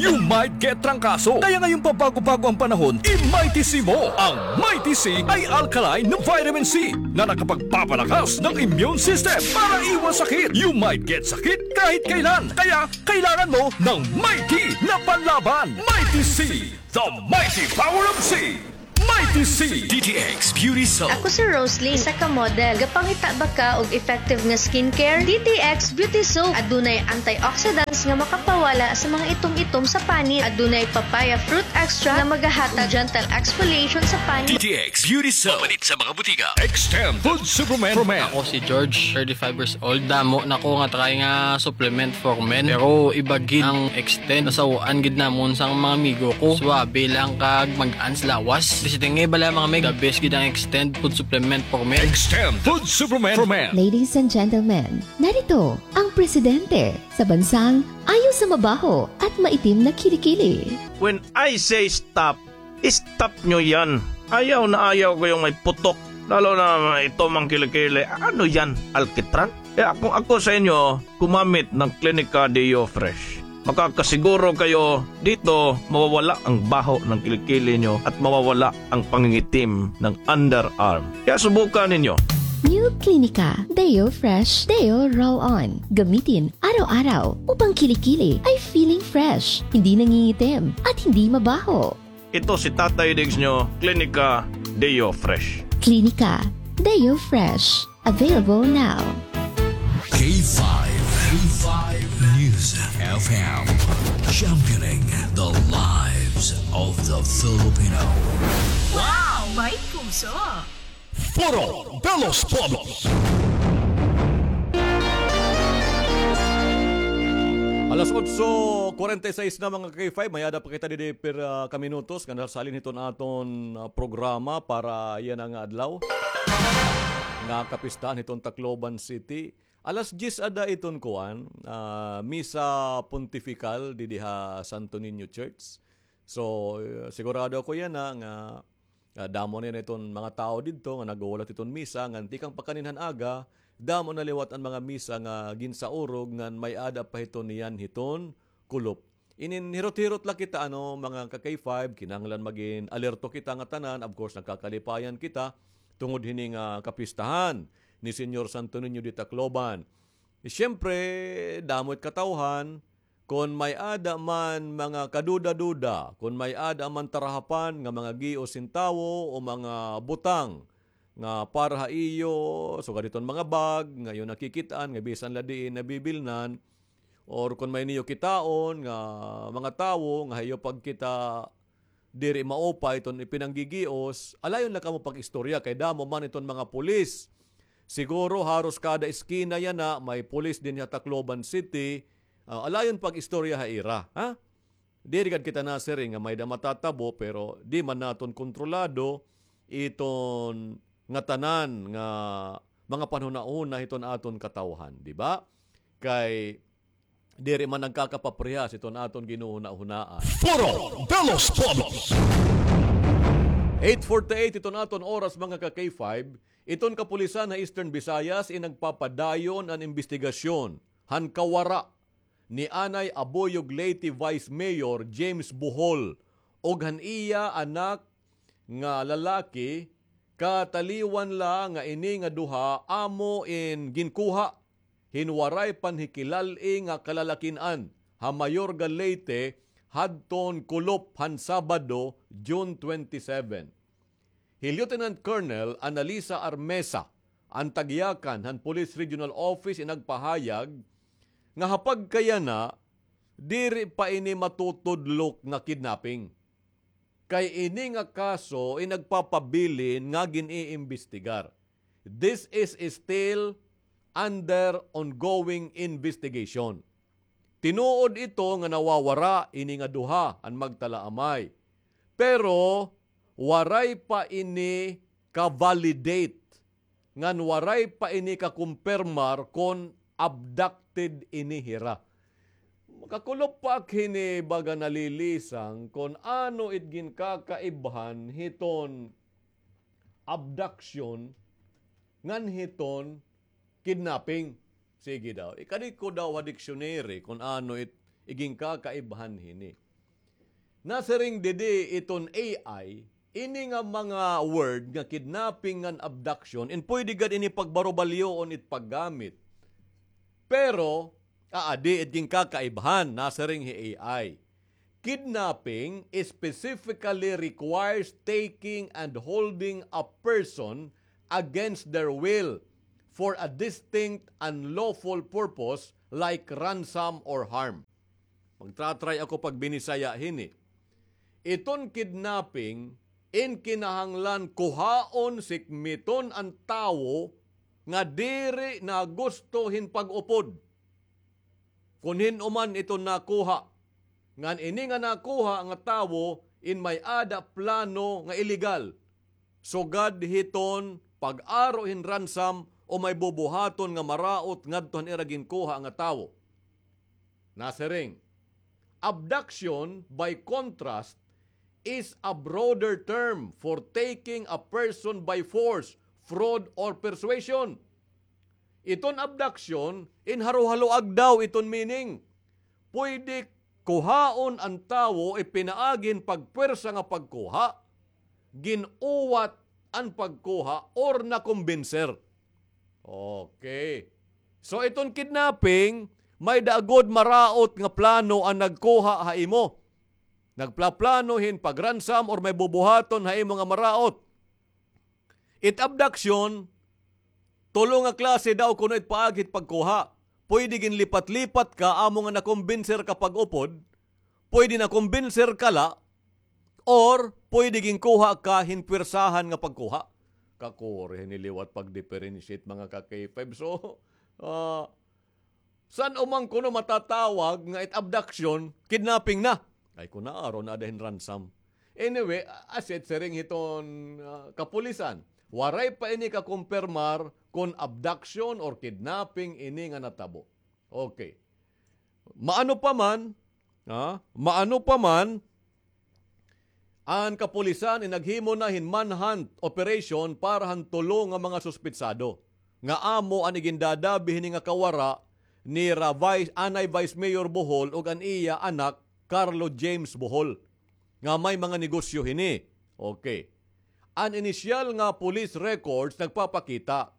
You might get trangkaso. Kaya ngayong pabago-bago ang panahon, i-Mighty C mo. Ang Mighty C ay alkaline na vitamin C na nakapagpapalakas ng immune system para iwas sakit. You might get sakit kahit kailan. Kaya kailangan mo ng Mighty na panlaban. Mighty C, the mighty power of C. Mighty C. D T X Beauty Soap. Ako si Roslyn, isa ka model. Gapangita ba ka og effective nga skincare? D T X Beauty Soap. Adunay antioxidants nga makapawala sa mga itom-itom sa panit. Adunay papaya fruit extract nga magahatag gentle exfoliation sa panit. D T X Beauty Soap. Mapalit sa mga butika. Extend Food Supplement for Men. Ako si George, thirty-five years old. Damo na ko nga try nga supplement for men. Pero iba gid ang extend. Nasaw-an gid namon sa mga amigo ko. Suwabe lang kag mag-ans lawas. Basta nga bala mga mig, the best gid ang extend food supplement for men. Extend Food Supplement for Men. Ladies and gentlemen, narito ang presidente sa bansang ayaw sa mabaho at maitim na kilikili. When I say stop, stop nyo yan. Ayaw na ayaw ko yung may putok. Lalo na may itom ang kilikili. Ano yan? Alkitran? Kaya kung ako sa inyo, gumamit ng Clinica Deo Fresh. Makakasiguro kayo dito mawawala ang baho ng kilikili nyo at mawawala ang pangingitim ng underarm. Kaya subukan ninyo. New Clinica Deo Fresh Deo Roll On. Gamitin araw-araw upang kilikili ay feeling fresh, hindi nangingitim, at hindi mabaho. Ito si Tatay Diggs nyo, Clinica Deo Fresh. Clinica Deo Fresh. Available now. K five, K five News F M, championing the lives of the Filipino. Wow! May puso! Foro de los Pueblos. Alas otso kwarenta y seis na, mga K five, may-ada pa kita didi per, ah, ka minutos nga nasalin hiton aton, ah, programa para yana nga adlaw nga kapistahan hiton Tacloban City. Alas diyes ada iton kuan, ah, Misa Pontifical didi ha Santo Niño Church. So, eh, sigurado ako yana nga, ah, damo na yana iton mga tawo didto nga naghuhulat hiton misa, ngan tikang pa kaninhan aga, damo na liwat an mga misa nga ginsaurog ngan may-ada pa hiton niyan hiton kulop. Inin hirot-hirot la kita, ano, mga ka-K five, kinahanglan magin alerto kita nga tanan. Of course, nagkakalipayan kita tungod hini nga kapistahan ni Señor Santo Niño de Tacloban. Siyempre, damo it katawhan, kon may-ada man mga kaduda-duda, kon may-ada man tarahapan nga mga gios hin tawo o mga butang nga para ha iyo, sugad hiton mga bag nga iyo nakikit-an nga bisan la diin nabibilnan, or kon may niyo kitaon nga mga tawo nga ha iyo pagkita diri maupay iton ipinanggigios, alayon la kamo pag-istorya kay damo man iton mga pulis. Siguro haros kada eskina yana may pulis dinhi ha Tacloban City. Ah, alayon pag-istorya ha ira, ha? Diri gad kita nasiring nga may-ada matatabo, pero di man naton kontrolado iton ngatanan nga mga panhunahuna hiton aton katawhan, di ba? Kay diri man nagkakapaparehas iton aton ginhuhunahunaan. Foro de los Pueblos. Eight forty-eight iton aton oras, mga ka-K five. Iton kapulisan ha Eastern Visayas in nagpapadayon an imbestigasyon han kawara ni anay Abuyog Leyte Vice Mayor James Bohol ug han iya anak nga lalaki, kataliwan la nga ini nga duha amo in ginkuha hin waray panhikilal-i nga kalalakin-an ha Mayorga, Leyte hadton kulop han Sabado, June twenty-seven. Hi Lieutenant Colonel Annalisa Armesa, an tagyakan han Police Regional Office, in nagpahayag nga ha pagkayana, diri pa ini matutudlok nga kidnapping. Kay ini nga kaso in nagpapabilin nga gin-iimbestigar. This is still under ongoing investigation. Tinuod ito nga nawawara ini nga duha an magtalaamay. Pero waray pa ini ka-validate ngan waray pa ini kakumpirmar kon abducted ini hira. Makakulop pa ak hini baga nalilisang kon ano it ginkakaibhan hiton abduction ngan hiton kidnapping. Sige daw. Ikadi ko daw ha dictionary kon ano it iginkakaibhan hini. Nasiring didi iton A I, ini nga mga word nga kidnapping ngan abduction, in pwede gad ini pagbarubalyoon it paggamit. Pero, aadi it ginkakaibhan, nasiring hi A I. Kidnapping specifically requires taking and holding a person against their will for a distinct unlawful purpose like ransom or harm. Magtra-try ako pagbinisaya hini. Iton kidnapping, in kinahanglan kuhaon, sikmiton an tawo nga diri na gusto hin pag-upod. Kun hin-o man iton nakuha, ngan ini nga nakuha nga tawo in may-ada plano nga iligal, sugad hiton pag-aro hin ransom o may bubuhaton nga maraot ngadto han ira ginkuha nga tawo. Nasiring, abduction, by contrast, is a broader term for taking a person by force, fraud, or persuasion. Iton abduction, in haroharoag daw iton meaning. Pwede kuhaon an tawo, ipinaagi hin pagpwersa nga pagkuha, gin-uwat an pagkuha, or nakumbinser. Okay. So, iton kidnapping, may-ada gud maraot nga plano an nagkuha ha imo. Nagplaplano hin pag-ransom or may bubuhaton ha imo nga maraot. It abduction, tulo nga klase daw kuno it paagi hit pagkuha. Pwede ginlipat-lipat ka, amo nga nakumbinser ka pag-upod, pwede nakumbinser ka la, or pwede ginkuha ka hin pwersahan nga pagkuha. Kakuri hini liwat pag-differentiate, mga ka-K five. So, ah, san-o man kuno matatawag nga it abduction, kidnapping na? Ay, kun naaro na ada hin ransom. Anyway, as it siring hiton, ah, kapulisan, waray pa ini kakumpirmar kun abduction or kidnapping ini nga natabo. Okay. Maano pa man, ha? Maano pa man, an kapulisan in naghimo na hin manhunt operation para han tulo nga mga suspitsado, nga amo an igindadabi hini nga kawara nira Vice, anay Vice Mayor Bohol ug an iya anak Carlo James Bohol, nga may mga negosyo hini. Okay. An inisyal nga police records nagpapakita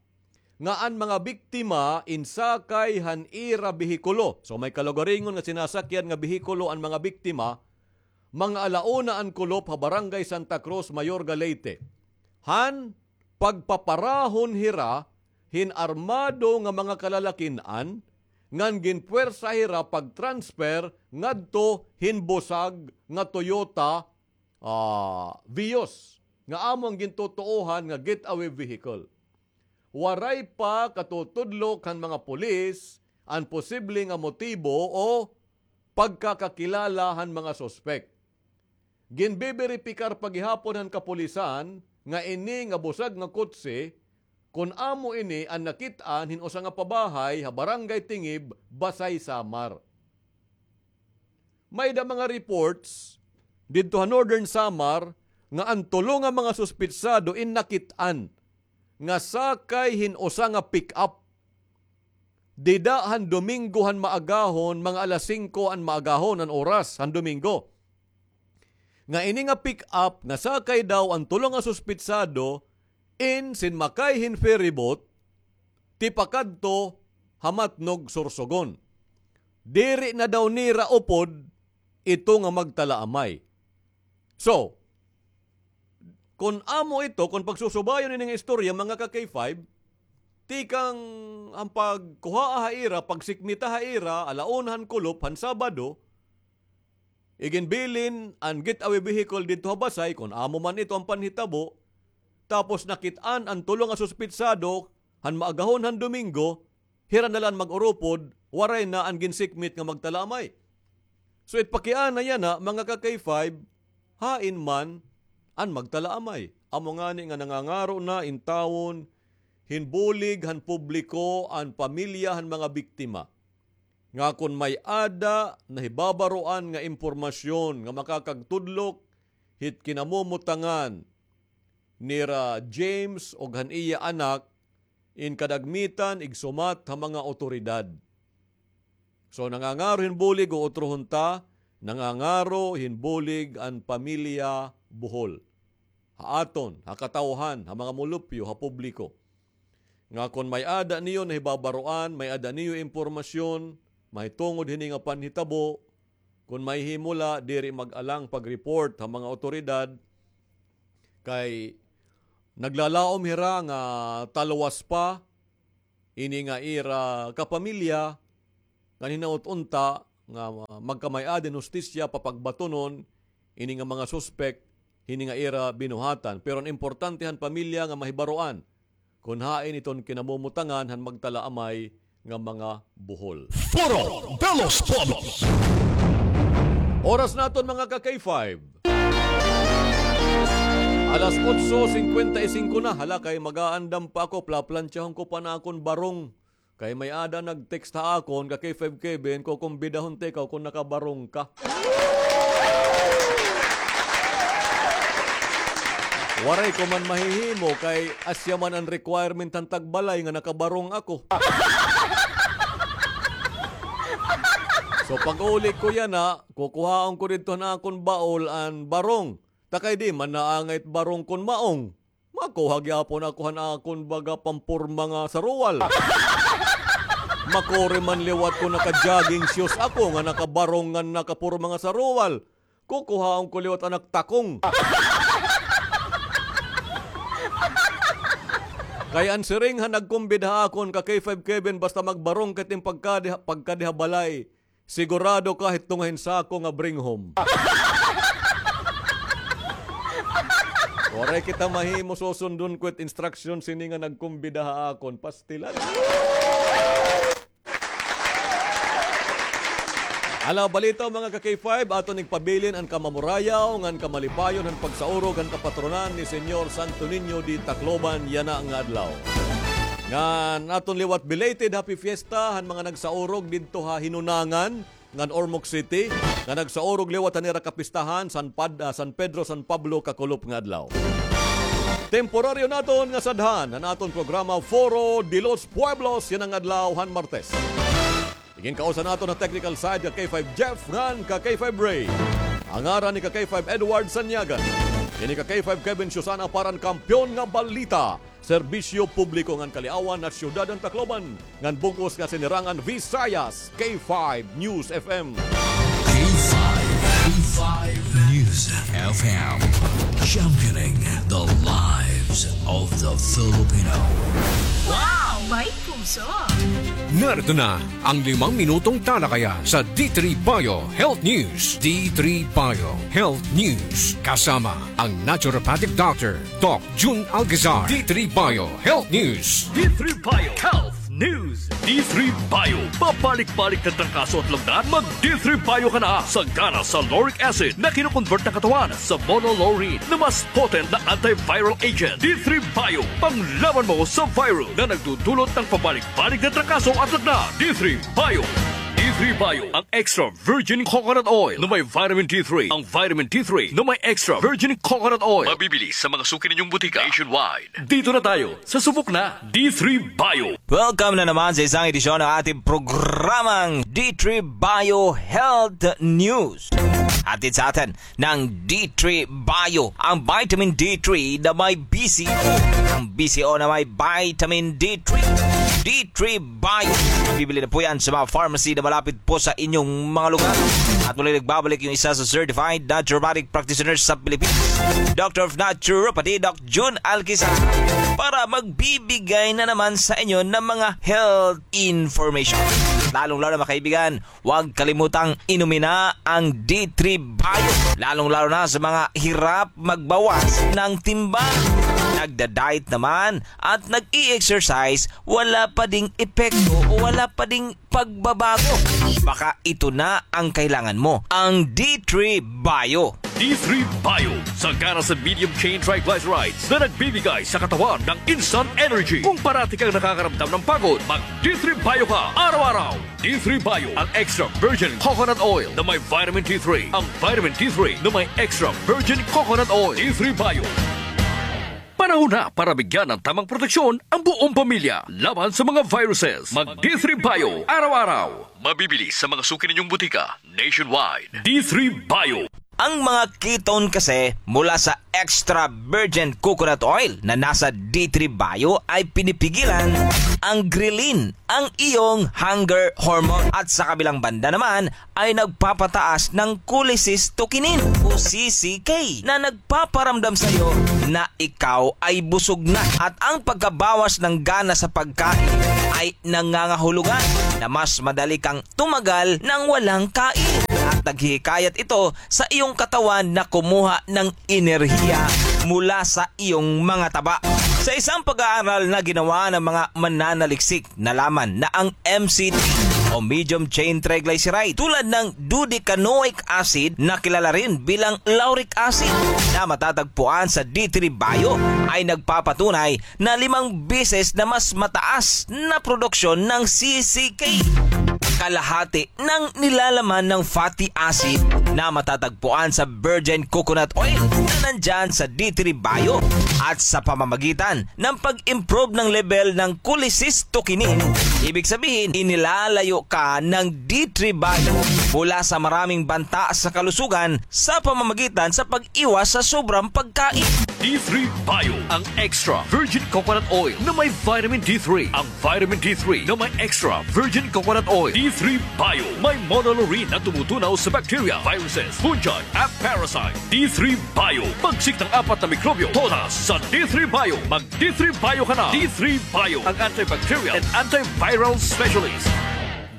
nga an mga biktima insakay han ira behikulo. So, may kalugaringon nga sinasakyan nga behikulo an mga biktima, mga ala una an kulop ha Barangay Santa Cruz, Mayorga, Leyte. Han pagpaparahon hira hin armado nga mga kalalakin-an, ngan ginpwersa hira pag-transfer ngadto hin busag nga Toyota, ah, Vios, nga amo an gintutuohan nga getaway vehicle. Waray pa katutudlok han mga pulis an posible nga motibo o pagkakakilala han mga suspek. Ginbiberipikar pa gihapon han kapulisan nga ini nga busag nga kotse, kun amo ini an nakit-an hin usa nga pabahay ha Barangay Tingib, Basay, Samar. May-ada mga reports didto ha Northern Samar nga an tulo nga mga suspitsado in nakit-an nga sakay hin usa nga pick-up dida han Domingo han maagahon, mga alas singko an maagahon an oras han Domingo. Nga ini nga pick-up nga sakay daw an tulo nga suspitsado in sinmakay hin ferryboat tipakadto ha Matnog, Sorsogon. Diri na daw nira upod ito nga magtalaamay. So, kun amo ito, kun pagsusubayon ini nga istorya, mga ka-K five, tikang an pagkuhaa ha ira, pagsikmita ha ira, ala una han kulop han Sabado, iginbilin an getaway vehicle didto ha Basay, kun amo man ito an panhitabo, tapos nakit-an an tulo nga suspitsado han maagahon han Domingo, hira na la an mag-urupod, waray na an ginsikmit nga magtalaamay. So, it pakiana yana, mga ka-K five, hain man an magtalaamay? Amo ngani nga nangangaro na intawon hin bulig han publiko an pamilya han mga biktima, nga kon may-ada nahibabaroan nga impormasyon nga makakagtudlok hit kinamomotangan nira James ug han iya anak, in kadagmitan igsumat ha mga awtoridad. So, nangangaro hin bulig, utrohon ta, nangangaro hin bulig an pamilya Bohol. Ha aton, ha katawhan, ha mga mulupyo, ha publiko. Nga kon may-ada niyo nahibabaroan, may-ada niyo impormasyon, mahitungod hini nga panhitabo, kon mahihimo la, diri mag-alang pag-report ha mga awtoridad, kay naglalaom hira nga talwas pa ini nga ira kapamilya, ngan hinaot unta nga magkamay-ada hin hustisya papagbatunon ini nga mga suspek hini nga ira binuhatan. Pero an importante han pamilya nga mahibaroan kon hain iton kinamumutangan han magtalaamay nga mga buhol. Foro de los Pueblos. Oras naton, mga ka-K five. Alas otso singkwenta y singko na. Hala, kay mag-aandam pa ako, plaplantsyahon ko pa an akon barong. Kay may-ada nag-text ha akon, ka-K five Kevin, kukumbidahon ta ikaw kon nakabarong ka. Waray ko man mahihimo kay asya man an requirement han tagbalay nga nakabarong ako. So, pag-uli ko yana, kukuhaon ko didto han akon baol an barong. Ta kay di man naangay it barong kon maong. Makuha gihapon ako han akon baga pamporma nga saruwal. Makuri man liwat kon naka-jogging shoes ako nga nakabarong ngan nakaporma nga saruwal. Kukuhaon ko liwat an ak takong. Kay an siring han nagkumbida ha akon, ka-K five Kevin, basta magbarong ka it im pagkadi, pagkadi ha balay, sigurado ka hit tunga hin sako nga bring home. Waray kita mahimo, susundon ko it instruction sini nga nagkumbida ha akon. Pastilan. Ala, balita, mga ka-K five, aton igpabilin an kamamurayaw ngan kamalipayon han pagsaurog han kapatronan ni Señor Santo Niño di Tacloban yana nga adlaw. Ngan aton liwat belated Happy Fiesta han mga nagsaurog didto ha Hinunangan ngan Ormoc City, nga nagsaurog liwat han ira kapistahan, San Pad-, ah, San Pedro, San Pablo, kakulop nga adlaw. Temporaryo naton nga sadhan an aton programa Foro de los Pueblos yana nga adlaw han Martes. Iginkausa naton ha technical side ka K five Jeff ngan ka K five Ray. An ngaran ni ka K five Edward Sanyagan. Ini ka K five Kevin Susana para han Kampiyon nga Balita, Serbisyo Publiko ngan Kaliawan ha Syudad han Tacloban, ngan bug-os nga sinirangan Visayas, K five News F M. K five, K five News F M, championing the lives of the Filipino. Wow! May puso! Narito na ang limang minutong talakayan sa D three Bio Health News. D three Bio Health News, kasama ang naturopathic doctor, Doc Jun Alcazar. D three Bio Health News. D three Bio Health News. D three Bio. Pabalik-balik na trangkaso at lagnat? Mag D three Bio ka na. Sagana sa lauric acid na kino-convert ng katawan sa monolaurin na mas potent na antiviral agent. D three Bio. Panglaban mo sa virus na nagdudulot ng pabalik-balik na trangkaso at lagnat. D three Bio. D three Bio. Ang extra virgin coconut oil na may vitamin D three. Ang vitamin D three na may extra virgin coconut oil. Mabibili sa mga suki ninyong butika nationwide. Dito na tayo sa Subok na D three Bio. Welcome na naman sa isang edisyon ng ating programang D three Bio Health News. Hatid sa atin ng D three Bio, ang vitamin D three na may B C O. Ang B C O na may vitamin D three. D three Bio. Bibili na po yan sa mga pharmacy na malapit po sa inyong mga lugar. At muli nagbabalik yung isa sa certified naturopathic practitioners sa Pilipinas, Doctor of Naturopathy, Doc Jun Alquizar, para magbibigay na naman sa inyo ng mga health information. Lalong-lalo, mga kaibigan, huwag kalimutang inumin na ang D three Bio, lalong-lalo na sa mga hirap magbawas ng timbang, nagda-diet naman at nag-i-exercise, wala pa ding epekto o wala pa ding pagbabago. Baka ito na ang kailangan mo, ang D three Bio. D three Bio, sagana sa medium chain triglycerides na nagbibigay sa katawan ng instant energy. Kung parati kang nakakaramdam ng pagod, mag D three Bio ka araw-araw. D three Bio, ang extra virgin coconut oil na may vitamin D three. Ang vitamin D three na may extra virgin coconut oil. D three Bio. Panahon na para bigyan ng tamang proteksyon ang buong pamilya laban sa mga viruses. Mag D three Bio araw-araw. Mabibili sa mga suki ninyong butika nationwide. D three Bio. Ang mga ketone kasi mula sa extra virgin coconut oil na nasa D three Bio ay pinipigilan ang ghrelin, ang iyong hunger hormone. At sa kabilang banda naman ay nagpapataas ng cholecystokinin o C C K na nagpaparamdam sa iyo na ikaw ay busog na. At ang pagkabawas ng gana sa pagkain ay nangangahulugan na mas madali kang tumagal nang walang kain. At naghihikayat ito sa iyong katawan na kumuha ng enerhiya mula sa iyong mga taba. Sa isang pag-aaral na ginawa ng mga mananaliksik, nalaman na ang M C T o medium chain triglyceride, tulad ng dodecanoic acid na kilala rin bilang lauric acid na matatagpuan sa D three Bio, ay nagpapatunay na limang beses na mas mataas na produksyon ng C C K, kalahati ng nilalaman ng fatty acid na matatagpuan sa virgin coconut oil na nandyan sa D three Bio. At sa pamamagitan ng pag-improve ng level ng cholecystokinin, ibig sabihin, inilalayo ka ng D three Bio mula sa maraming banta sa kalusugan sa pamamagitan sa pag-iwas sa sobrang pagkain. D three Bio, ang extra virgin coconut oil na may vitamin D three. Ang vitamin D three na may extra virgin coconut oil. D three Bio, may monolaurin na tumutunaw sa bacteria, viruses, fungi, at parasite. D three Bio, pagsik ng apat na mikrobyo, todas sa D three Bio. Mag D three Bio ka na. D three Bio, ang antibacterial and antiviral specialist.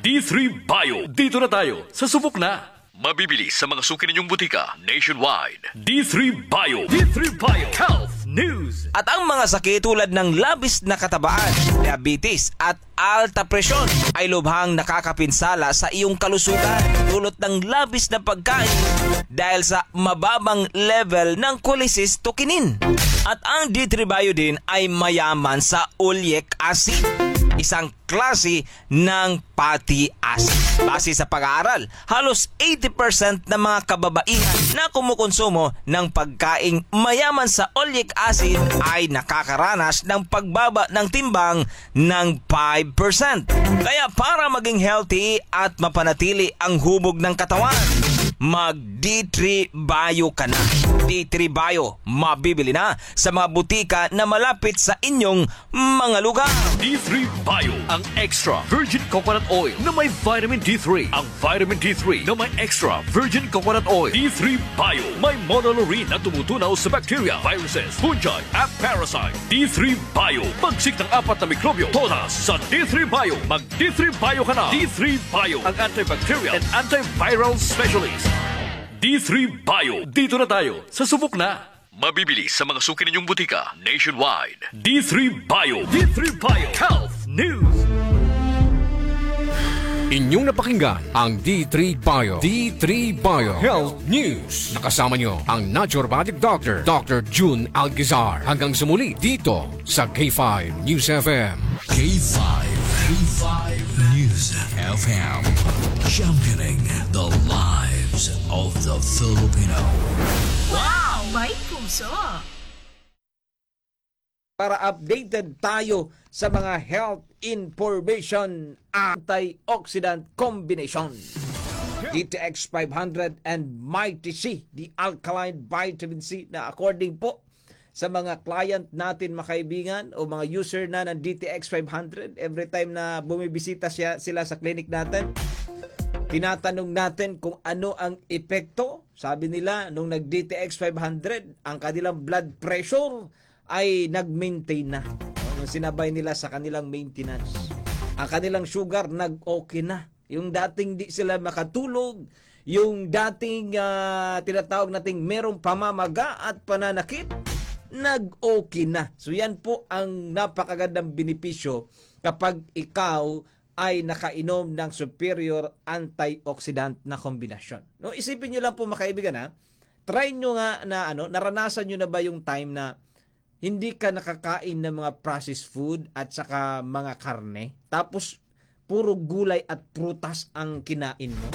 D three Bio, dito na tayo. Sa subok na. Mabibili sa mga suki ninyong butika nationwide. D three Bio. D three Bio Health News. At ang mga sakit tulad ng labis na katabaan, diabetes, at alta presyon ay lubhang nakakapinsala sa iyong kalusugan dulot ng labis na pagkain dahil sa mababang level ng cholecystokinin. At ang D three Bio din ay mayaman sa oleic acid, isang klase ng fatty acid. Base sa pag-aaral, halos eighty percent ng mga kababaihan na kumukonsumo ng pagkaing mayaman sa oleic acid ay nakakaranas ng pagbaba ng timbang ng five percent. Kaya para maging healthy at mapanatili ang hubog ng katawan, mag D three Bio ka na. D three Bio, mabibili na sa mga butika na malapit sa inyong mga lugar. D three Bio, ang extra virgin coconut oil na may vitamin D three. Ang vitamin D three na may extra virgin coconut oil. D three Bio, may monolaurin na tumutunaw sa bacteria, viruses, fungi, at parasite. D three Bio, pagsik ng apat na mikrobyo, todas sa D three Bio. Mag D three Bio ka na. D three Bio, ang antibacterial and antiviral specialist. D three Bio, dito na tayo. Sa subok na. Mabibili sa mga suki ninyong butika nationwide. D three Bio. D three Bio Health News. Inyong napakinggan ang D three Bio. D three Bio Health News. Nakasama nyo ang naturopathic doctor, Doctor Jun Algizar. Hanggang sa muli dito sa K five News F M. K five, K five News F M, championing the lives of the Filipino. Wow! May puso! Para updated tayo sa mga health information, antioxidant combination. D T X five hundred and Mighty C, the alkaline vitamin C na according po sa mga client natin, mga kaibigan, o mga user na ng D T X five hundred, every time na bumibisita siya, sila sa clinic natin, tinatanong natin kung ano ang epekto. Sabi nila, nung nag-D T X five hundred, ang kanilang blood pressure ay nag-maintain na. No? Nung sinabay nila sa kanilang maintenance, ang kanilang sugar nag-okay na. Yung dating di sila makatulog, yung dating, ah, tinatawag nating merong pamamaga at pananakit, nag-okay na. So yan po ang napakagandang benepisyo kapag ikaw ay nakainom ng superior antioxidant na kombinasyon. No, isipin niyo lang po, mga kaibigan, ha? Try niyo nga na, ano, naranasan niyo na ba yung time na hindi ka nakakain ng mga processed food at saka mga karne, tapos puro gulay at prutas ang kinain mo?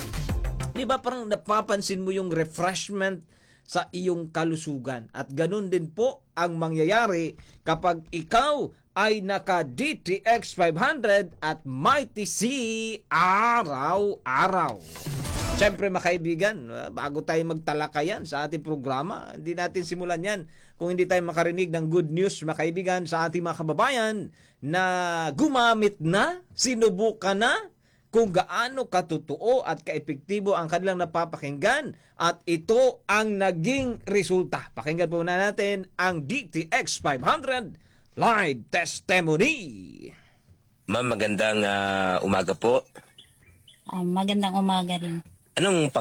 Di ba, parang napapansin mo yung refreshment sa iyong kalusugan. At ganun din po ang mangyayari kapag ikaw ay naka D T X five hundred at Mighty C araw-araw. Siyempre, mga kaibigan, ah, bago tayo magtalakayan sa ating programa, hindi natin simulan yan kung hindi tayo makarinig ng good news, mga kaibigan, sa ating mga kababayan na gumamit na, sinubukan na, kung gaano katotoo at kaepektibo ang kanilang napapakinggan at ito ang naging resulta. Pakinggan po muna natin ang D T X five hundred live testimony. Ma'am, magandang, ah, umaga po. Ah, magandang umaga rin. Anong pangalan